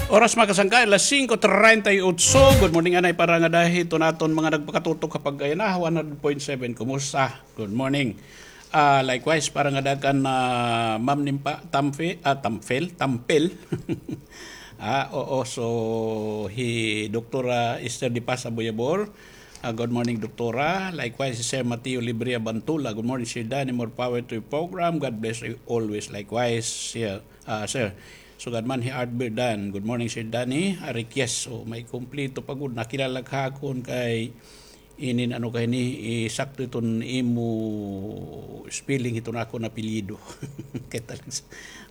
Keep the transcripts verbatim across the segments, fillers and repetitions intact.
Oras, mga kasangkay, alas singko treinta y ocho. Good morning anay para ngada hiton aton mga nagpakatutok ha Pagkayana, one hundred point seven. Kumusta? Good morning. Ah, likewise, para ngada kan, ah, Ma'am Nimpa, Tamfe-, ah, Tamfel, Tampel. Ah, oo, so, hi Doktora Esther De Paz Aboyabor. Ah, good morning, Doktora. Likewise, si Sir Mateo Libria Bantula. Good morning, Sir Danny. More power to your program. God bless you always. Likewise, Sir. Ah, sir. Sugad man hi Art Birdan. Good morning, Sir Danny. Ari, yes. So, may kumpleto pa gud. Nakilala ka akon kay inin ano kay ni, eh, sakto iton imo spelling iton akon apelyido. Kay talag,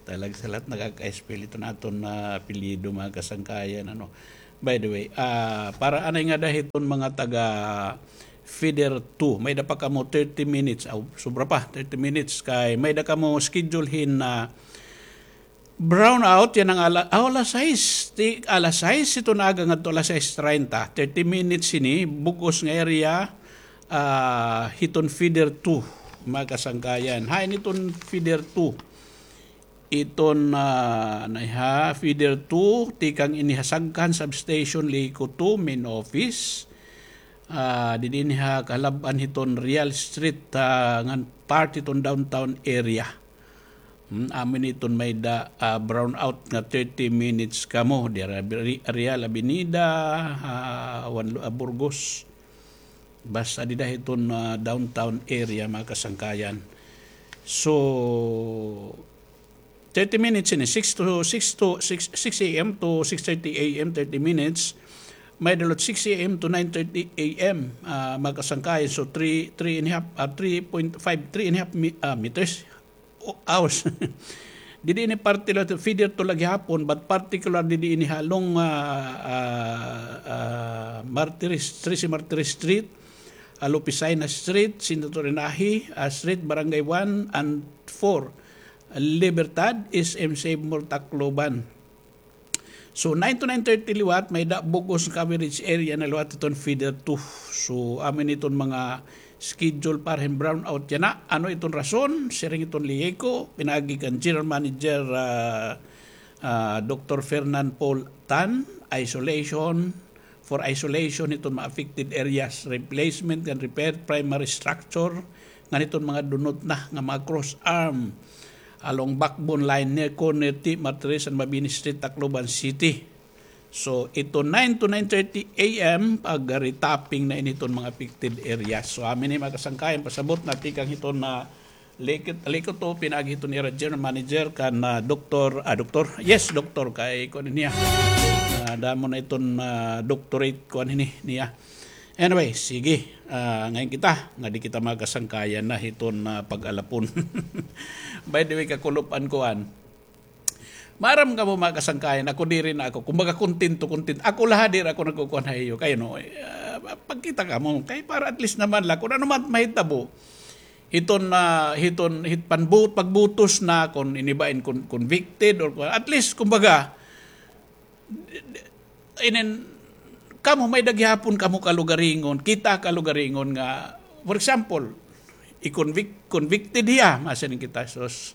talag sa lahat nakaka-spell iton aton na apelyido, mga kasangkayan, ano. By the way, ah, para anay ngada hiton mga taga feeder two, may da pa kamo thirty minutes, aw, sobra pa, thirty minutes kay may da kamo schedule hin na brownout yana nga ala-, aw, alas sais, ti-, alas sais hiton aga ngadto alas sais treinta, thirty minutes hini, bug-os nga area, ah, hiton feeder two, mga kasangkayan. Hain iton feeder two? Iton, ah, ano ha, feeder two, tikang ini ha Sagkan Substation, Lico two, main office. Ah, didi ini ha kalab-an hiton Real Street, ah, ngan part hiton downtown area. Hmm, amo ini iton may da, ah, brownout nga thirty minutes kamo. Dira, Real Avenida, ah, Juan Lu-, ah, Burgos. Basta dida hiton, ah, downtown area, mga kasangkayan. So, thirty minutes ini, six to, six to, six, six A M to six thirty A M, thirty minutes. May da liwat six A M to nine thirty A M, ah, mga kasangkayan. So, three, three and a half, ah, three point five, three and a half mi-, ah, meters. O-, hours. Didi ini parte la, feeder two la gihapon, but particular didi ini ha along, ah, ah, ah, Martires, trese Martires Street, ah, Lupicina Street, Senator Inahi, ah, Street, Barangay one and four, Libertad, S M Save More, Tacloban. So, nine to nine thirty liwat, may da bug-os coverage area na liwat iton feeder two. So, amo ini iton mga schedule para hin brownout yana. Ano iton rason? Siring iton Lico, pinaagi kan General Manager, ah, ah, Doktor Fernand Paul Tan, isolation, for isolation hiton mga affected areas, replacement ngan repair primary structure, ngan hiton mga dunot na nga mga cross arm along backbone line near corner T Martires and Mabini Street, Tacloban City. So, iton nine to nine thirty A M, pag-retapping na ini hiton mga affected areas. So, amo ini mga kasangkayan, pasabot na tikang hiton na Lico, Lico two, pinaagi hiton ira general manager kan, ah, doktor, ah, doktor. Yes, doktor, kay kuan niya. Ah, damo na iton, ah, doctorate kuan ini niya. Anyway, sige. Ah, ngayon kita, nga di kita makasangkayan na hiton, ah, pag-alapon. By the way, kakulop-an kuan. Maaram kamo, mga kasangkayan, ako diri na ako. Kumbaga, kontento, kontento. Ako la, diri ako nagkukuan ha iyo. Kay ano, eh, ah, pagkita kamo, kay para at least naman la, kun ano man mahitabo, hiton, ah, hiton, hit panbut-, pagbutos na, kun ini ba in con-, convicted or kun, at least, kumbaga, inin, kamo may-ada gihapon kamo kalugaringon, kita kalugaringon nga, for example, i-convict-, convicted hiya, masiring kita, sus,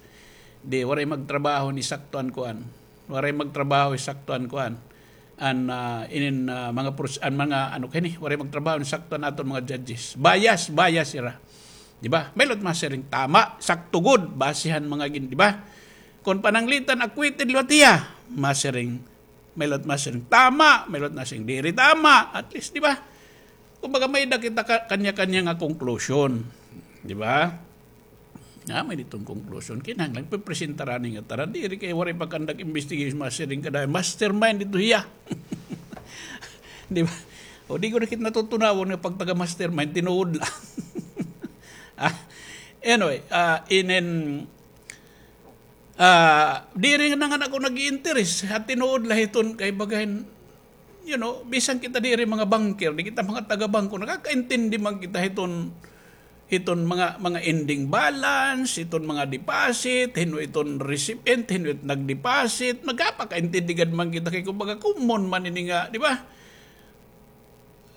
di, waray magtrabaho ni sakto an kuan. Waray magtrabaho ni sakto an kuan. An, ah, inin, ah, mga pros-, an mga, ano kini, waray magtrabaho ni sakto an aton mga judges. Bias, bias ira. Di ba? May-ada masiring, tama, sakto gud, base han mga gin-, di ba? Kon pananglitan, acquitted liwat hiya, masiring, may-ada masiring tama, may-ada masiring diri tama, at least, di ba? Kumbaga, may-ada kita ka-, kanya-kanya nga conclusion. Di ba? Ah, may-ada iton conclusion. Kinahanglan, pipresentaran ni nga tanan. Diri kay waray pa kandak investigation, masiring ka dahil mastermind ito hiya. Di ba? O di ko na kita natutunawan nga pagtaga-mastermind, tinuod la. Ah, anyway, ah, inin, Ah, diri na nga ako nag-iinteres. Ha tinuod la hiton kay bagahin, you know, bisan kita diri mga banker, di kita mga taga-bangko, nakakaintindi man kita hiton, hiton mga, mga ending balance, hiton mga deposit, hin-o iton recipient, hin-o it nag-deposit, magkapakaintindi gad man kita kay kumbaga common man ini nga, di ba?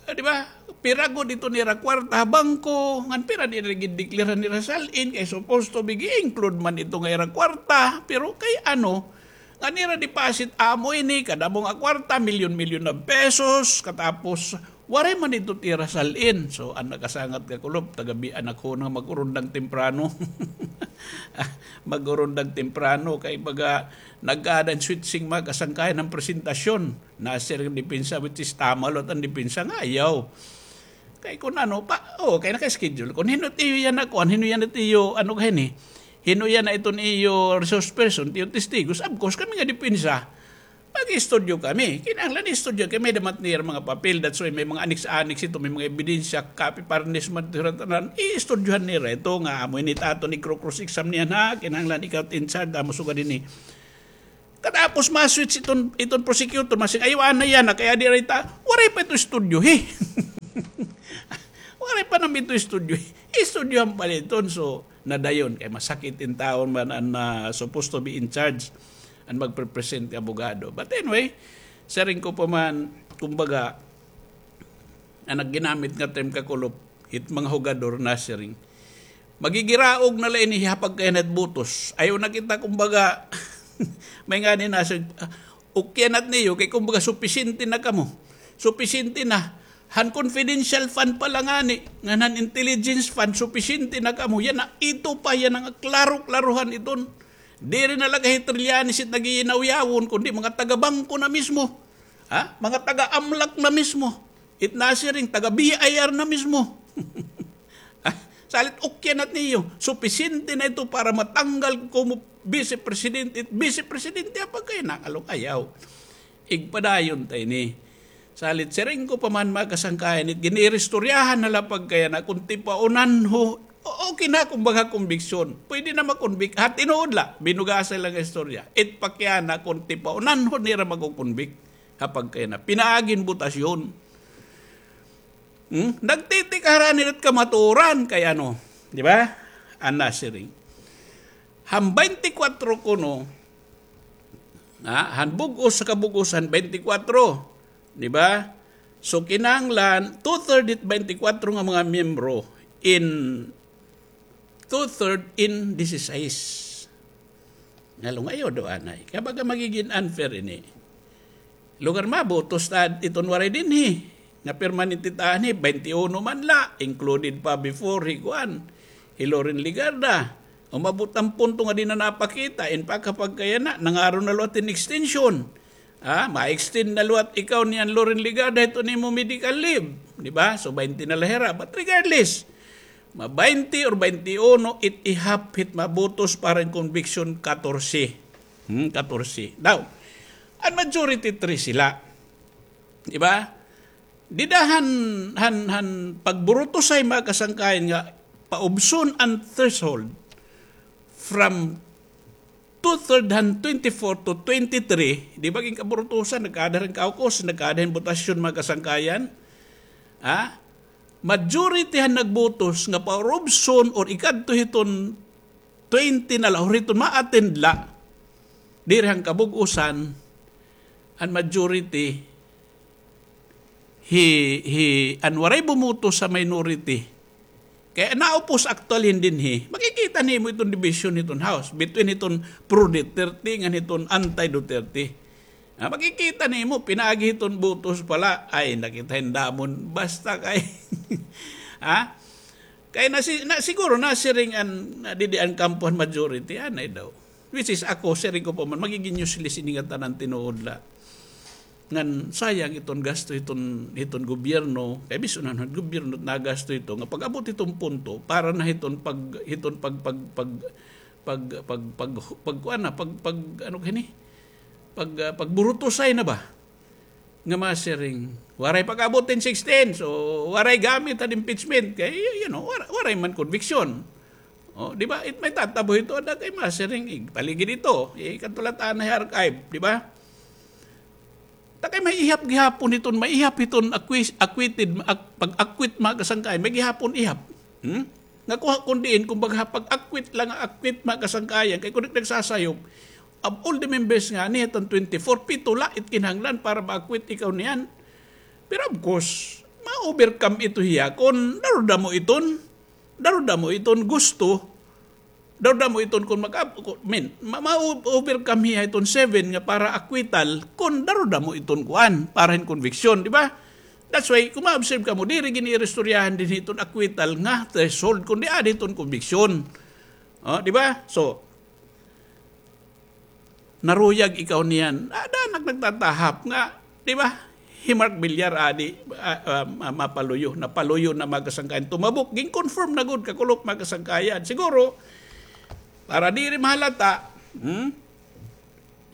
Ah, di ba? Pira gud ito nira kwarta ha bangko, ngan pira diri gindeklara nira sal-in, kay supposed to be gi-include man ito nga ira kwarta, pero kay ano, An ira deposit amo ini, kada amo nga kwarta, milyon-milyon na pesos, katapos, waray man ito it ira sal-in. So, an nakasangat nga kulop, taga-biyaan ako nga mag-urundang temprano. Mag-urundang temprano, kay baga, nagkada an switching mga kasangkayan an presentasyon. Nasiring depensa, which is tama liwat an depensa nga ayaw. Kay kun ano pa, o, kay naka-schedule. Kun hin-o it iyo yana kuan, hin-o yana it iyo, ano ka hini? Hin-o yana iton iyo resource person, it iyo testigos, of course, kami nga depensa. Mag-istudyo kami. Kinahanglan istudyo kay may-ada man it nira mga papel. That's why may mga annex-annex ito, may mga ebidensya, copy, parnes man ito, tanan. Iistudyohan nira ito nga amo ini it aton igkro-cross exam niyan ha. Kinahanglan ikaw it in charge, amo sugad ini. Katapos ma-switch iton, iton prosecutor, masiring, "Ayaw anay yana, kay adi ray ta, waray pa ito istudyohi." Waray pa naman ito istudyohi. Istudyohan pa la iton, so, nadayon, kay masakit in taon man an, ah, supposed to be in charge, an magpe-present nga abogado. But anyway, siring ko pa man, kumbaga, an nagginamit nga term kakulop, it mga hugador nasiring. Magigiraog na la ini ha pagkayanat botos. Ayaw na kita, kumbaga, may ngani nasiring, ah, ukyanat niyo, kay kumbaga, supisyente na kamo. Supisyente na. Han confidential fund pa la ngani, ngan han intelligence fund, supisyente na kamo. Yana, ito pa, yana nga klaro-klarohan iton. Diri na la kay Trillanes it nagiyinawyawon, kundi mga taga-bangko na mismo. Ha? Mga taga-amlak na mismo. It nasiring, taga-B I R na mismo. Ah, salit ukyanat niyo. Supisyente na ito para matanggal ko mo vice presidente. It vice presidente, apag kay nangalong ayaw. Igpadayon ta ini. Salit siring ko pa man, mga kasangkayan, it giniristoryahan na la pagkayana, kun tipaunanho, o-, okay na, kumbaga, konbiksyon. Pwede na makonbik-, ha, tinuod la, binugasan la nga istorya. It pakyana, kun tipaunanho nira makokonbik, ha pagkayana. Pinaagi hin botasyon. Hmm? Nagtitikara nira it kamaturan, kay ano, di ba? An nasiring. Han twenty-four kuno, ha, han bug-os ha kabug-osan, twenty-four. Di ba? So, kinahanglan, two-third it twenty-four nga mga miyembro in two-third in disisais. Ngalong ayaw daw anay. Kay baga magigin unfair ini. Lugar mabotos ta iton waray dinhi. Nga permanente ta anhi, twenty-one man la, included pa before hi kuan, hi Loren Legarda. Umabot an punto nga di na napakita, in fact, ha pagkayana, nangaron na liwat hin extension. Ah, ma-extend na liwat ikaw niyan Loren Legarda, hiton imo medical leave, di ba? So, twenty na la hira. But regardless, ma-twenty or twenty-one, it ihap hit mabotos para hin conviction, katorse. Hmm, katorse. Now, an majority, three sila. Di ba? Dida han, han, han pagburutosay, mga kasangkayan, nga paubson an threshold from two-third han twenty-four to twenty-three, di ba, ginkaburutosan, nagkaada hin caucus, nagkaada hin botasyon, mga kasangkayan. Ha? Majority han nagbotos nga paurubson or ikadto hiton twenty na la, or hiton ma-attend la, diri han kabug-osan, an majority, hi, hi, an waray bumoto sa minority. Kay naupos actually hin dinhi. Makikita nimo iton division hiton House between hiton pro Duterte ngan hiton anti Duterte. Ah, makikita nimo, pinaagi hiton botos pa la. Ay, nakita hin damon. Basta kay, ha? Kay nasi-, na, siguro nasiring an, na didi an kampo han majority, anay daw. Which is ako, siring ko pa man, magigin useless ini nga tanan tinuod la. Ngan sayang iton gasto hiton, hiton gobyerno, kay bisan an gobyerno nagasto ito, nga pag-abot hiton punto, para na hiton pag, hiton pag, pag, pag, pag, pag, pag, pag, kuan na, pag, pag, ano kini? Pag, ah, pagburutosay na ba? Nga masiring, waray pag-abot hin sixteen, so waray gamit han impeachment. Kay, you know, war-, waray man conviction. O, di ba? It may tatabo hito, ada kay masiring, igpaligid ito. Ikadto la ta anay ha archive, di ba? Ta kay may ihap gihapon hiton, may ihap hiton acquis-, acquitted, ak-, pag-acquit, mga kasangkayan, may gihapon ihap. Hmm? Nga kuha kun diin, kumbaga, pag-acquit la nga acquit, mga kasangkayan, kay kun di nagsasayop, of all the members ngani hiton twenty-four, pito la it kinahanglan para ma-acquit ikaw niyan. Pero of course, ma-overcome ito hiya kun darudamo iton, darudamo iton gusto, Daw damo iton kon maka-, ko-, min, ma-, ma-, overcome hiya iton seven nga para acquittal, kon daw damo iton kuan, para hin conviction, di ba? That's why, kung ma-observe kamo, diri gini iristoryahan dinhi iton acquittal nga threshold, kundi adi iton conviction. Oh, di ba? So, naruyag ikaw niyan. Ada nak nagtatahap nga, di ba? Hi Mark Villar, adi, ah, ah, ma-, mapaluyo, napaluyo na, mga kasangkayan. Tumabok, gin-confirm na gud, kakulop, mga kasangkayan. Siguro, para diri mahalata, hmm?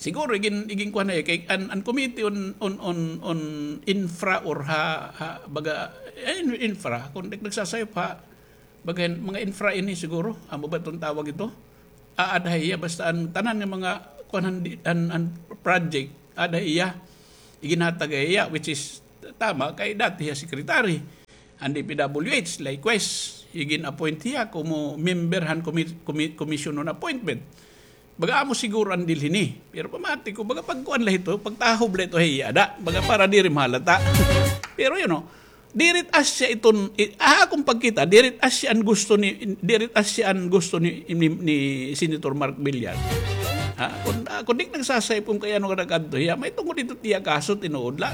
Siguro, igin, igin kuha na, eh, kay an, an committee on, on, on, on infra or ha, ha, baga, eh, in-, infra, kung nag-, nagsasayop ha, baga, mga infra ini siguro, amo ba itong tawag ito? Aada ha iya, basta an tanan nga mga, kuan, an, an, an project, aada ha iya, iginhatag ha iya, which is tama, kay dati hiya secretary. An D P W H, likewise, igin-appoint hiya komo member han commi-, commi-, commission on appointment. Baga amo siguro an deal hini. Pero pamati ko, baga pagkuan la ito, pagtahob la ito, hey, ada. Baga para diri mahalata. Pero, you know, diri it asya iton, i-, ah, akon pagkita, diri it asya an gusto ni, diri it asya an gusto ni, ni, ni Senator Mark Villar. Ha? Kung, ah, kung di nagsasayop kung kay ano ka nagkadto hiya, may tungod ito tiya kaso, tinuod la.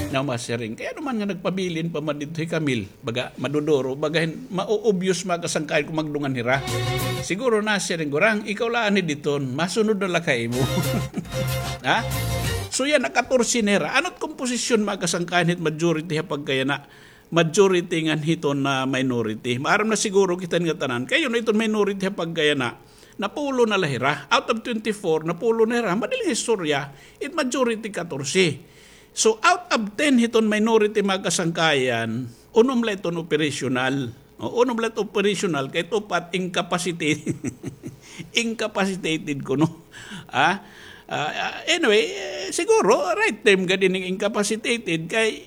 Na masiring. Kay ano man nga nagpabilin pa man dito hi Camille. Baga, maduduro, baga hin-, mao-obvious, mga kasangkayan, kung magdungan hira. Siguro nasiring gurang, ikaw la ani diton, masunod na la kay imo. Ha? So yana, katorse na hira. Ano't komposisyon, mga kasangkayan, hit majority ha pagkayana? Majority ngan hiton na minority. Maaram na siguro kita nga tanan. Kay yana, iton minority ha pagkayana, napulo na la hira. Out of twenty-four, napulo na hira. Madaling istorya, it majority katorse. So, out of ten hiton minority, mga kasangkayan, unom la iton operational. O, unom la iton operational, kay it upat incapacitated. Incapacitated kuno. Ah? Ah, ah, anyway, eh, siguro, right term gad ining incapacitated, kay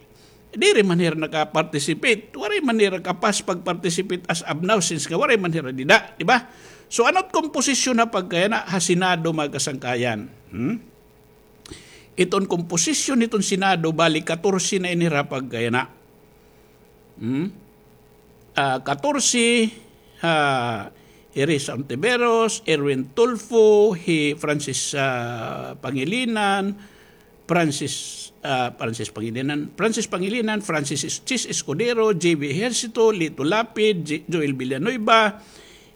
diri man hira naka-participate. Waray man hira kapas pag-participate as of now, since nga waray man hira dida, di ba? So, ano't komposisyon ha pagkayana ha Senado, mga kasangkayan? Hmm? Iton komposisyon hiton Senado, bali, katorse na ini hira pagkayana. Hmm? Ah, katorse, ah, hi Risa Hontiveros, Erwin Tulfo, hi Francis, ah, Pangilinan, Francis, ah, Francis Pangilinan, Francis Pangilinan, Francis Es-, Chiz Escudero, J B Ejercito, Lito Lapid, J-, Joel Villanueva,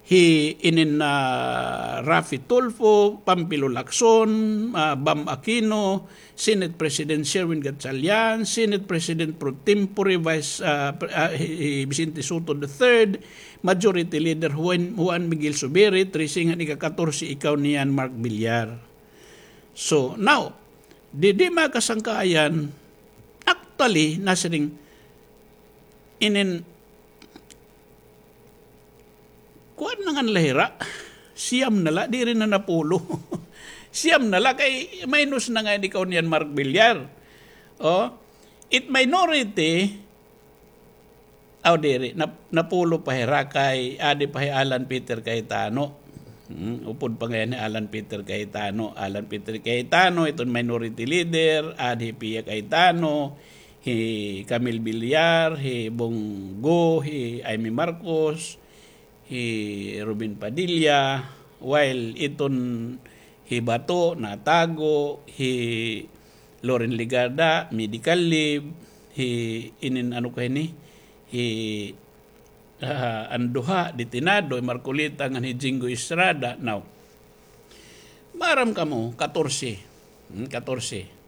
hi inin, ah, Raffy Tulfo, Pampilo Lacson, ah, Bam Aquino, Senate President Sherwin Gatchalian, Senate President pro tempore Vice, ah, pre-, ah, hi, hi Vicente Sotto the third, Majority Leader Juan, Juan Miguel Zubiri, trese ngan ika-katorse ikaw niyan, Mark Villar. So, now, didi, mga kasangkayan, actually, nasiring, inin, kuan na ngan la hira. Siyam na la, diri na napulo. Siyam na la, kay minus na ngay-an ikaw niyan, Mark Villar. Oh, it minority, aw, diri, nap-, napulo pa hira kay, adi pa hi Alan Peter Cayetano. Hmm, upod pa ngay-an hi Alan Peter Cayetano. Alan Peter Cayetano, iton minority leader, adi hi Pia Cayetano, hi Camille Villar, hi Bong Go, hi Imee Marcos, hi Robin Padilla, while iton hi Bato natago, hi Loren Legarda, medical leave, hi inin ano ka ini, hi, ah, an duha, detenado, hi Marcoleta ngan hi Jinggoy Estrada. Now, maaram kamo, katorse. Hmm, katorse.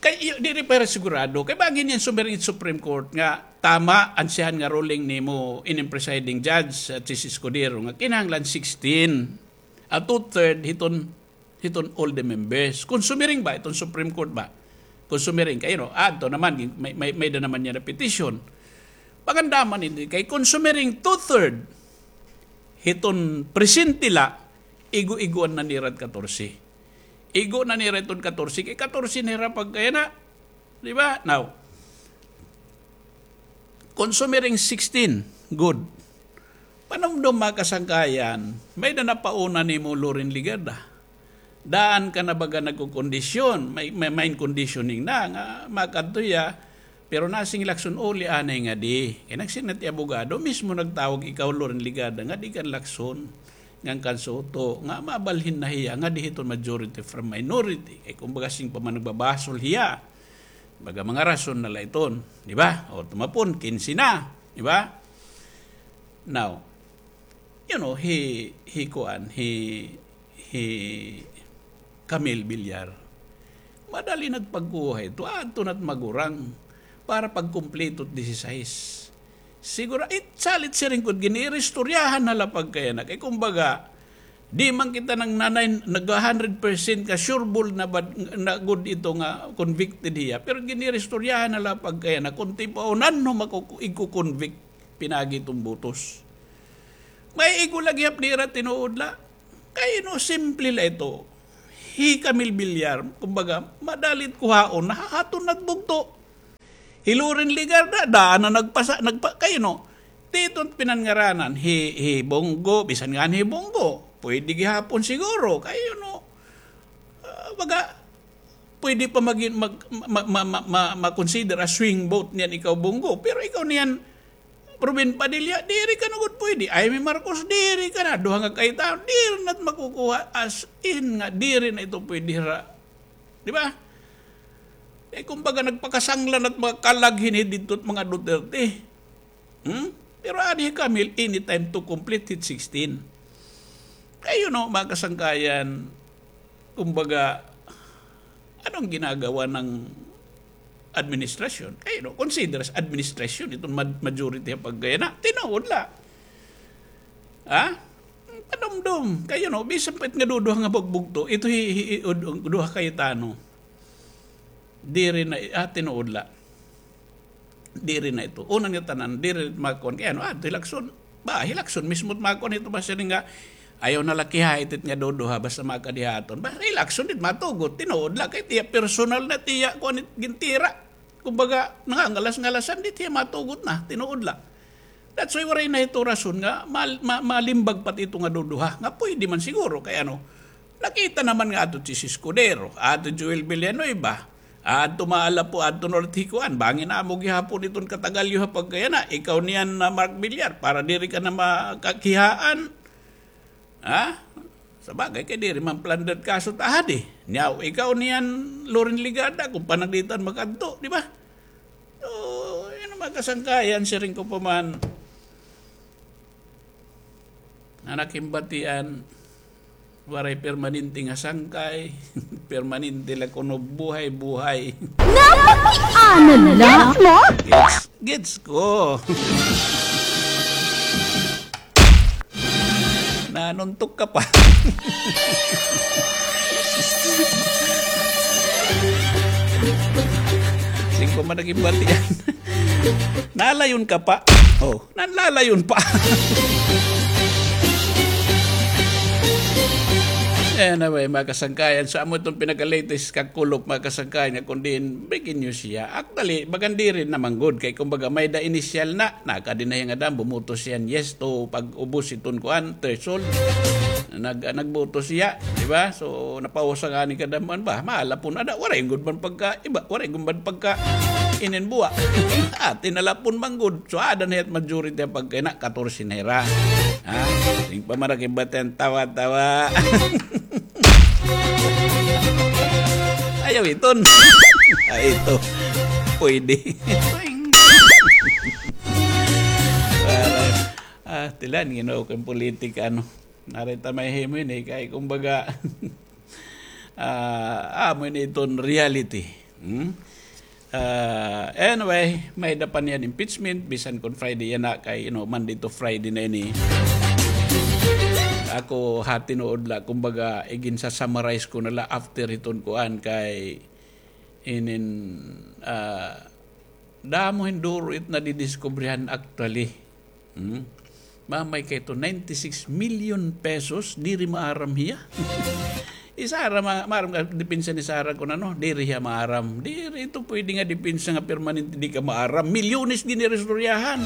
Kay, iyo, diri pa hira sigurado. Kay bangin niyan sumiring it Supreme Court nga tama an siyahan nga ruling nimo, ining presiding judge, ah, Chiz Escudero, nga kinahanglan sixteen. Ah, two-third hiton, hiton all the members. Kung sumiring ba, iton Supreme Court ba? Kung sumiring, kay, you know, adto naman, may, may, may-ada naman niya na petition. Pagandaman ini, kay kung sumiring two-third, hiton presente la, igo-igoan na nira it katorse. Igo na nira iton katorse, kay katorse na hira pagkayana. Di ba? Now, kung sumiring sixteen, good. Panumdom, mga kasangkayan, may-ada napauna nimo, Loren Legarda. Daan ka na baga nagkukondisyon, may, may mind conditioning na, nga makadto hiya, Pero nasiring hi Lacson, uli anay ngadi. Kay nagsiring na it iya abogado, mismo nagtawag, ikaw, Loren Legarda, ngadi kan Lacson, ngan kan Soto, nga mabalhin na hiya ngadi hiton majority from minority. Kay kumbaga, siring pa man nagbabasol hiya. Baga mga rason na la iton, di ba? O, tumapon, kinse na, di ba? Now, you know, hi, hi kuan, hi, hi Camille Villar, madali na it pagkuha hito, adto na it magurang para pagkumpleto it disisais. Siguro, it salit siring ko, giniiristoryahan na la pagkayana. Kay kumbaga, di man kita nang nanay, nag-a hundred percent ka sure ball na bad, na gud ito nga convicted hiya. Pero giniiristoryahan na la pagkayana, kon tipaunan no makuku-, igko-convict, pinaagi iton botos. May igo la gihap dira, tinuod la. Kay no, simple la ito. Hi Camille Villar, kumbaga, madali it kuhaon, nahahaton na it bugto. Hi Loren Legarda, daan na nagpasa-, nagpa-, kay no, titon pinanngaranan, hi, hi Bong Go, bisan ngani hi Bong Go, pwede gihapon siguro, kay no, ah, baga, pwede pa magin-, mag-, ma-, ma-, ma-, ma-, ma-consider a swing vote niyan ikaw, Bong Go. Pero ikaw niyan, Robin Padilla, diri ka na gud pwede. Imee Marcos, diri ka na. Duha nga kaytaon, diri na it makukuha. As in nga, diri na ito pwede hira. Di ba? Eh, kumbaga, nagpakasangla na it mga kalag hini didto it mga Duterte. Hmm? Pero adi hi Camille, anytime to complete it sixteen. Kay, you know, mga kasangkayan, kumbaga, anong ginagawa ng administrasyon? Kay, you know, consider as administrasyon itong ma-, majority ha pagkayana. Tinuod la. Ha? Padumdom. Kay, you know, bisan pa it nga duduha nga bugbugto, ito hi, hi, hi, ud-, duha kay tano. Diri na, ah, tinuod la. Diri na ito. Una nga tanan, diri makuan. Kay ano, ah, hi Lacson. Ba, hi Lacson mismo makuan ito, basta nga, ayaw na la kiha itit nga duduha, basta makadihaton. Ba, hi Lacson dit matugot, tinuod la. Kay tiya personal na tiya, kuan it gintira. Kumbaga, nangangalas-ngalasan, di tiya matugot na, tinuod la. That's why waray na ito rason nga mal-, ma-, malimbag pa it ito nga duduha. Nga pwede man siguro, kay ano, nakita naman nga ato si Escudero, ato Joel Villanueva, ato maala po, ato North Hicuan, bangin amo gihapon iton katagalyo ha pagkayana, ikaw niyan na Mark Villar, para diri ka na makakihaan. Ha? Sa bagay, kay diri man plunder kaso ta adi. Nyaw, ikaw niyan, Loren Legarda, kung pananglitan makadto, di ba? So, yun ang mga kasangkayan, siring ko pa man. Anak himbatian, waray permanente nga sangkay, permanente la kuno buhay-buhay. Napakiana la mo? Gets, gets ko. Nanuntok ka pa. Singko man naging bati yan. Nalayon ka pa. Oh, nanlalayon pa. Anyway, mga kasangkayan, sa amo itong pinaka-latest kakulop, mga kasangkayan, nga kung diin, breaking news siya. Actually, magandi rin naman good. Kay kumbaga, may da initial na, nakadi na hiya nga dam, bumuto siya yes to pag-ubos iton kuan, threshold. Nag-, nagbuto siya, di ba? So, napausa nga ni kadaman ba? Mahala po na da, waray gud man pagka, iba, waray gud man pagka, inin buwa. Ati na la pon man gud. So, ada na hit majority pagka na, katorse na hira. Ha? Sing pamarakibat yan, tawa-tawa. Ayaw iton. Ay, ito. Pwede. Ah, tilan, you know, kung politika, ano. Narita may himo ini, kay kumbaga, ah, amo ini iton reality. Hmm? Ah, anyway, may da pa niyan impeachment, bisan kon Friday yana, kay, you know, Monday to Friday na ini. Ako, ha tinuod la, kumbaga, igin-summarize ko na la after hiton kuan kay inin, ah, damo hin duro it nadidiskubrihan actually. Hmm? Mamay kay to ninety-six million pesos, diri maaram hiya. Hi Sara, ma-, maaram ka, depensa ni Sara kun ano, diri hiya maaram. Diri ito pwede nga depensa nga permanente di ka maaram. Milyones din iristoryahan.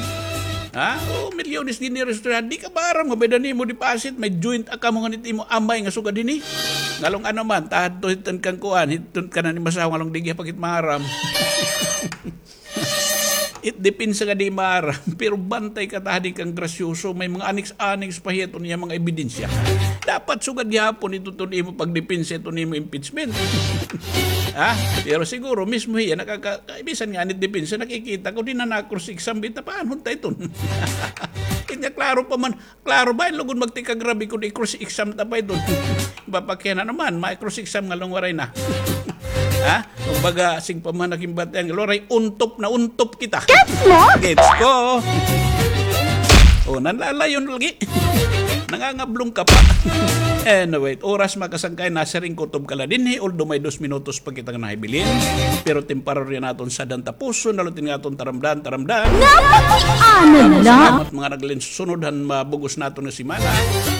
Ha? O, milyones din iristoryahan. Di ka maaram nga pwede nimo deposit, may joint account nga nit imo amay nga sugad hini. Ngalong ano man, tahad to hiton kang kuan, hiton ka na ni masawa ngalong di giya pagit maaram. It depensa nga di maaram, pero bantay ka ta hadi kang grasyoso, may mga annex-annex pa hiya iton iya mga ebidensya. Dapat sugad gihapon ito iton imo pagdepensa iton imo impeachment. Ha? Pero siguro mismo hiya nakaka-, bisan nga anit depensa, nakikita ko, di na na-cross exam, bita paanhon ta iton. Kanya klaro pa man, klaro ba, lugod magtikagrabe kun i-cross exam ta pa iton. Bapak kaya na naman, ma-cross exam nga lang waray na. Ha? Kumbaga, sing pamanaking batian, waray untop na untop kita. Gets mo? Gets ko. O, nanlalayon lagi. Nangangablong ka pa. Anyway, oras makasangkay, nasiring kutob ka la dinhi, although may dos minutos pa kita nga nahibilin. Pero temporary naton sadhan tapuson, nalutin nga aton taramdan, taramdan. Napatianan la. Salamat mga naglinsunod han mabugos naton nga semana.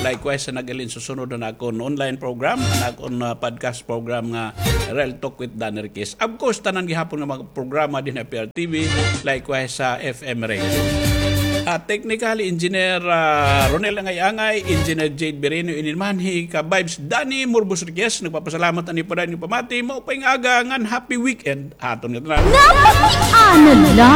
Likewise, sa naglinsunod han akon online program, han akon, ah, podcast program nga Real Talk with Dan Riquez. Of course, tanan gihapon nga mga programa dinhi ha P R T V, likewise sa F M Radio. At technically, Engineer, ah, Ronel Angay-Angay, Engineer Jade Bireno, ini naman hi ka-vibes Danny Murbos Riquez, nagpapasalamat ani pa dayon nga pamati, maupay nga aga ngan happy weekend ha aton nga tanan. Napatianan la.